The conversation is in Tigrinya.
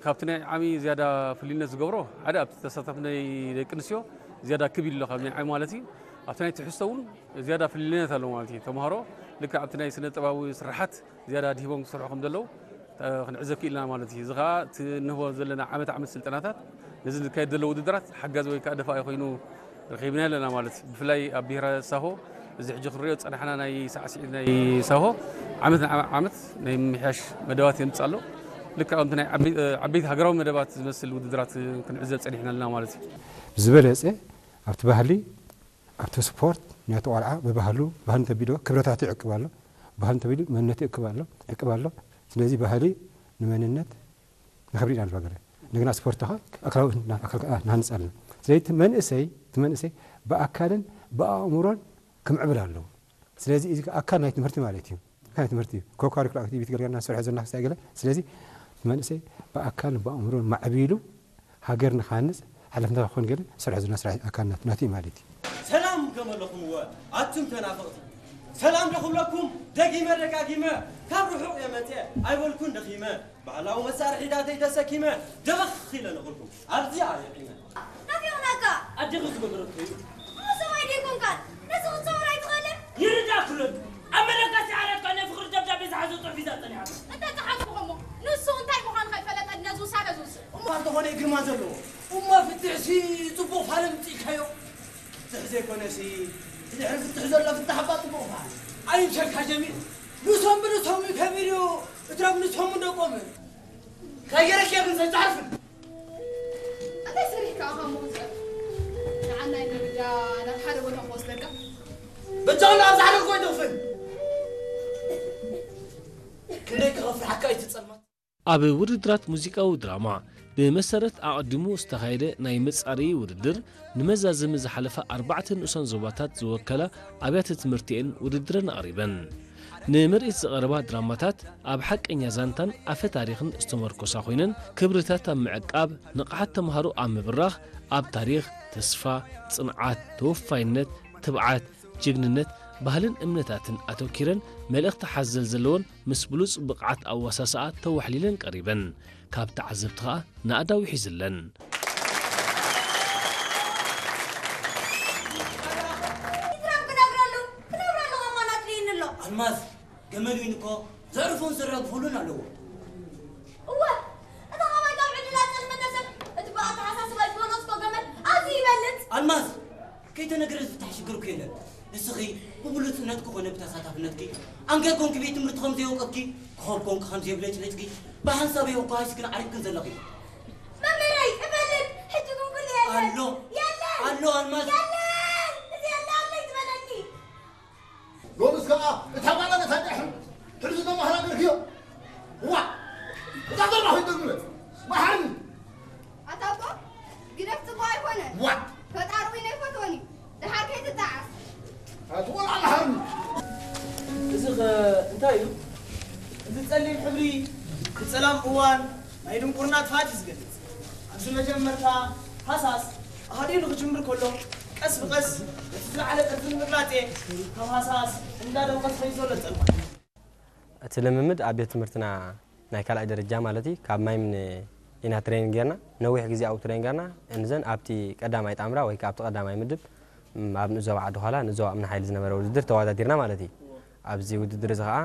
ካብቲ ናይ ዓሚ ዝያዳ ፍልይነት ዝገብሮ ሓደ ኣብቲ ተሳታፍነት ናይ ደቂ ኣንስትዮ ዝያዳ ክብ ኢሉ ኣሎ ካብ ናይ ዓሚ ማለት እዩ። ኣብቲ ናይ ትሕዝቶ እውን ዝያዳ ፍልይነት ኣሎ ማለት እዩ። ተምሃሮ ልክዕ ኣብቲ ናይ ስነ ጥበባዊ ስርሓት ዝያዳ ኣድሂቦም ክሰርሑ ከም ዘለዉ ክንዕዘብ ክኢልና ማለት እዩ። እዚ ከዓ እቲ እንህቦ ዘለና ዓመት ዓመት ስልጠናታት ነዚ ዝካየድ ዘሎ ውድድራት ሓጋዚ ወይ ከዓ ደፋኢ ኮይኑ ረኺብና ኣለና ማለት እዩ። ብፍላይ ኣብ ብሄረ ሳሆ እዚ ሕጂ ክንሪኦ ዝፀናሕና ናይ ሳዕስዒት ናይ ሳሆ ዓመት ንዓመት ናይ ምምሕያሽ መደባት የምፅእ ኣሎ። ልክዕ ከምቲ ናይ ዓበይቲ ሃገራዊ መደባት ዝመስል ውድድራት ክንዕዘብ ፀኒሕና ኣለና ማለት እዩ። ዝበለፀ ኣብቲ ባህሊ ኣብቲ ስፖርት ናይቲ ቆልዓ ብባህሉ ባህሉ እንተቢልዎ ክብረታቱ ይዕቅብ ኣሎ፣ ባህሉ እንተቢሉ መንነቱ ይዕቅብ ኣሎ። ስለዚ ባህሊ ንመንነት ንኽብሪ ኢና ንበገረ እንደገና ስፖርት ኸ ኣካላዊ ንሃንፅ ኣለና። ስለዚ እቲ መንእሰይ እቲ መንእሰይ ብኣካልን ብኣእምሮን ክምዕብል ኣለዎ። ስለዚ እዚ ኣካል ናይ ትምህርቲ ማለት እዩ። ኣካል ናይ ትምህርቲ ኮ ካሪኩላ ኣክቲቪቲ ገልገልና ንሰርሖ ዘለና ክሳይ ገለ ስለዚ እቲ መንእሰይ ብኣካልን ብኣእምሮን ማዕቢሉ ሃገር ንክሃንፅ ሓላፍነታ ክኾን ገለ ዝሰርሖ ዘለና ስራሕ ኣካል ናቱ እዩ ማለት እዩ። ሰላም ከመለኹምወ ኣቱም ተናፈቕቲ ሰላም ዶ ክብለኩም ደጊመ ደጋጊመ ካብ ርሑቕ እየ መፅየ ኣይበልኩን ደኺመ ባህላዊ መሳርሒታተይ ተሰኪመ ደበኽ ኢለ ንኽልኩም ኣብዚኣ የዒመ ናፊቕናካ ኣዴኺ ዝገበረቶ እዩ እሞ ሰብኣይ ደይኮንካን ነዚ ክትሰውር ኣይትኽእልን ይርዳእኩ ሎሚ ኣብ መለከሲ ዓራት ኮነ ፍቕሪ ደብዳቤ ዝሓዘ ፅሑፍ ሒዛ ፀኒሓ እንተፀሓፍኩ እሞ ንሱ እንታይ ምዃኑ ከይፈለጠ ነዚ ውሳነ ዝውስን እሞ እንተኾነ ግርማ ዘለዎ እሞ ፍትሕሲ ፅቡቕ ፋለ ምፅኢካዮ ፍትሕ ዘይኮነሲ እቲ ድሕሪ ፍትሕ ዘሎ ፍታሕ እባ ፅቡቕ ፋለ ኣይምሸካ ጀሚል ንሶም ብንሶም ከቢድ እዩ እትረብ ንሶም ደቆምን ከየረክየብን ዘጫርፍን እንታይ ሰሪሕካ ኢኻ እሞ ክትፀርፍ? ንዓናይ ምርዳ ናብ ሓደ ቦታ ክወስደካ? በጃኹም ንኣብዛ ሓደ ክኾይ ትኽፍል ክንደይ ክኸፍርሓካ እዩ እቲ ጸልማት። ኣብ ውድድራት ሙዚቃዊ ድራማ ብመሰረት ኣቐዲሙ ዝተኻየደ ናይ መጻረዪ ውድድር ንመዛዘሚ ዝሓለፋ ኣርባዕተ ንኡሳን ዞባታት ዝወከላ ኣብያተ ትምህርቲ እየን ውድድረን ኣቕሪበን። ንምርኢት ዝቐረባ ድራማታት ኣብ ሓቀኛ ዛንታን ኣፈ ታሪኽን ዝተመርኮሳ ኮይነን ክብርታት ኣብ ምዕቃብ፣ ንቕሓት ተምሃሮ ኣብ ምብራኽ፣ ኣብ ታሪኽ፣ ተስፋ፣ ጽንዓት፣ ተወፋይነት፣ ትብዓት፣ ጅግንነት፣ ባህልን እምነታትን ኣተኪረን መልእኽቲ ሓዘል ዘለወን ምስ ብሉጽ ብቕዓት ኣዋሳስኣ ተዋሕሊለን ቀሪበን። ካብ ተዓዘብቲ ኸኣ ናእዳ ውሒዝለን። ኢትራም ክነግረሉ ክነግረሉ ከማን ኣድልይኒ ኣሎ። ኣልማዝ ገመል ዊን እኮ ዘዕርፎን ዘራግፈሉን ኣለዎ። እወ እታ ካባይ ካብ ዕድላ ዝጠልመተ ሰብ እቲ ብኣተሓሳስባ ዝበለጽኮ ገመል ኣዝዩ ይበልጽ። ኣልማዝ ከይተነግረ ዝፍታሕ ሽግር እኮ የለን። ንስኺ ብብሉጽነትኪ ኮነ ብተሳታፍነትኪ ኣንገር ኮንኪ ቤት ትምህርቲ ከም ዘየውቀትኪ ኮኸብ ኮንኪ ከም ዘየብለጭለጭኪ ብሓንሳብ እየ እኮ ሃይስክል ዓሪፍክን ዘለኺ። መምህረይ እፈልጥ ሕጂ ግን ኩሉ የለን ኣሎ የለን ኣሎ ኣልማዝ የለን እዚ የለ ኣለይ ዝበለኒ ሎምስ ከኣ እታ ጓል ኣነታ ድሕሪ ሕልዚ ተማህራ ገርክዮ ዋ እታ ዞርባ ኮይደግምለ መሓኒ ኣታ ኣቦ ግደፍ ጽቡቕ ኣይኮነን ዋ ፈጣሪ እውን ኣይፈትዎን እዩ ደሓር ከይትጠዓስ ኣቲ ቆልዓ መሓኒ እዚ ኸ እንታይ እዩ እዚ ጸሊም ሕብሪ እቲ ጸላም እዋን ናይ ድንቁርና ጥፍኣት እዩ ዝገልጽ ኣብዚ መጀመርታ ሃሳስ ኣሃዲኡ ንኽጅምር ከሎ ቀስ ብቐስ ነቲ ዝለዓለ ቅርጺ ንምግላጽ እየ ካብ ሃሳስ እንዳደምቐ ዝኸይድ ዘሎ ጸልማት። እቲ ልምምድ ኣብ ቤት ትምህርትና ናይ ካልኣይ ደረጃ ማለት እዩ ካብ ማይምን ኢና ትሬኒንግ ጌርና ነዊሕ ግዜ ኣብኡ ትሬኒንግ ጌርና እንዘን ኣብቲ ቀዳማይ ጣምራ ወይ ከዓ ኣብቲ ቀዳማይ ምድብ ኣብ ንኡስ ዞባ ዓዲ ዃላ ንኡስ ዞባ እምኒ ሓይሊ ዝነበረ ውድድር ተወዳዲርና ማለት እዩ ኣብዚ ውድድር እዚ ከዓ